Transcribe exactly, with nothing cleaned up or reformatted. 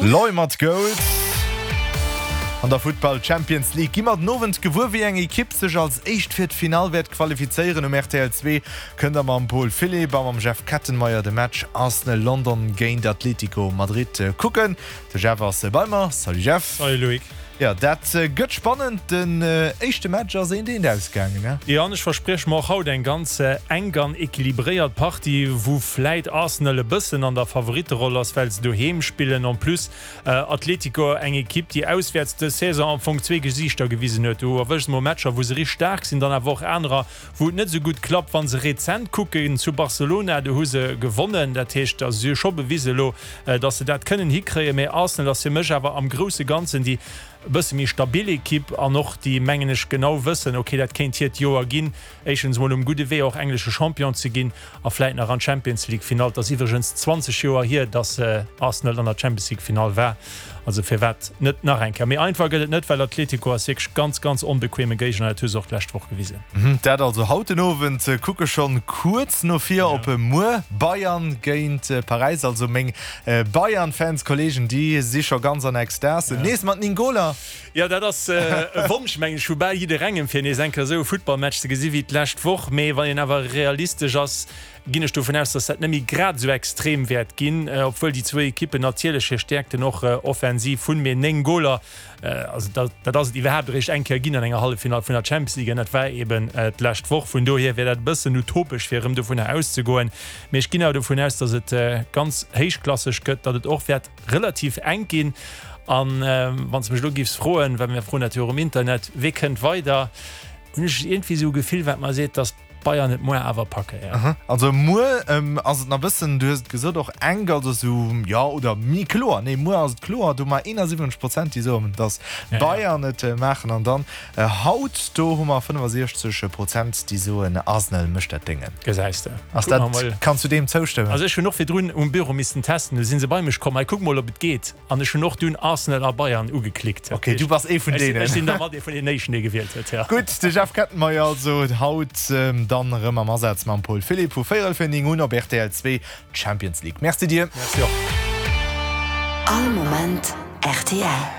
Loi mat Gold. An der Futtball Champions League gi mer den Owend gewuer, wéi eng Ekipp sech als éischt fir d'Finall wäert qualifizéieren. Um rtl zwee kënnt der mam Paul Philipp a mam Jeff Kettenmeyer de Match Arsenal London géint Atlético Madrid kucken. De Jeff ass bei mer. Salut Jeff. Salut Loïc. Jo, dat gëtt spannend. Den éischte Match ass eent eent ausgaangen, ne? Jo, an ech versprieche mer och haut eng ganz enk an equilibréiert Partie, wou vläit Arsenal e bëssen an der Favoritteroll ass, well se doheem spillen. En plus Atlético, eng Ekipp, déi auswäerts dës Saison am Fong zwee Gesiichter gewisen huet. Du erwëschs mol Matcher, wou se richteg staark sinn, dann awer och anerer, wou et net esou gutt klappt. Wa se rezent kucken zu Barcelona, do hu se gewonnen. Dat heescht, si hu scho bewisen elo, datt se dat kënnen hikréien. Mee Arsenal ass fir mech awer am grousse Ganzen déi e bësse méi stabil Ekipp an och déi, mengen ech, genau wëssen, ok, dat kéint hiert Joer ginn, éischtens emol um gudde Wee och englesche Champion ze ginn a vläit nach an d'Champions League Finall. Et ass iwwregens zwanzeg Joer hier, datt Arsenal an der Champions League Finall war, also firwat net nach eng Kéier. Méi einfach gëtt et net, well Atletico ass wierklech ganz, ganz onbequeme Géigner, dat hu se och d'lescht Woch gewisen. Dat also haut den Owend, kucke schonn kuerz no vir op muer, Bayern géint Paräis. Also meng Bayern-Fans, Kollegen, déi si scho ganz an Extase. Nees mat néng Goler. Jo, dat ass e Wonsch, mengen ech, vu bal jidderengem, fir nees eng Kéier esou e Futtballmatch ze gesi wéi d'lescht Woch. Mee wann een awer realistesch ass, ginn ech dovun aus, datt dat net méi grad esou extrem wäert ginn, obwuel déi zwou Ekippen natierlech hir Stäerkten och offensiv hunn. Mee néng Goler, also dat, dat ass et iwwerhaapt eréischt eng Kéier ginn an enger Halleffinall vun der Champions League an dat war eeben d'lescht Woch. Vun dohier wär dat e bëssen utopesch, fir erëm dovunner auszegoen. Mee ech ginn awer dovun aus, datt et ganz héichklasseg gëtt, datt et och wäert relativ enk ginn. An wann s de mech elo géifs froen, well mir froen dat jo och um Internet, wee kënnt weider, hunn ech iergendwéi esou e Gefill, wat mer seet, datt d'Bayern et muer awer packen, jo. Aha, also muer ass et nach e bëssen, du hues et gesot, och enk, also esou, jo, oder méi kloer, nee, muer ass et kloer, do hu mer eenasiwwenzeg Prozent, déi soen, datt d'Bayern et maachen. An dann haut, do hu mer fënnefasiechzeg Prozent, déi soen, Arsenal mécht dat Déngen. Gesäis de. Ass dat, kanns du deem zoustëmmen? Also ech hunn och virdrun um Büro missten testen, du si se bei mech komm, hei kuck mol, ob et geet. An ech hunn och dunn Arsenal a Bayern ugeklickt. Ok, du bass ee vun deenen. Ech sinn da mat ee vun deenen éischten, dee gewielt huet, jo. Gutt, de Jeff Kettenmeyer also haut dann erëm am Asaz mam Paul Philipp vu véierel vir néng un op rtl zwee, d'Champions League. Merci dir. Merci och. All Moment rtl.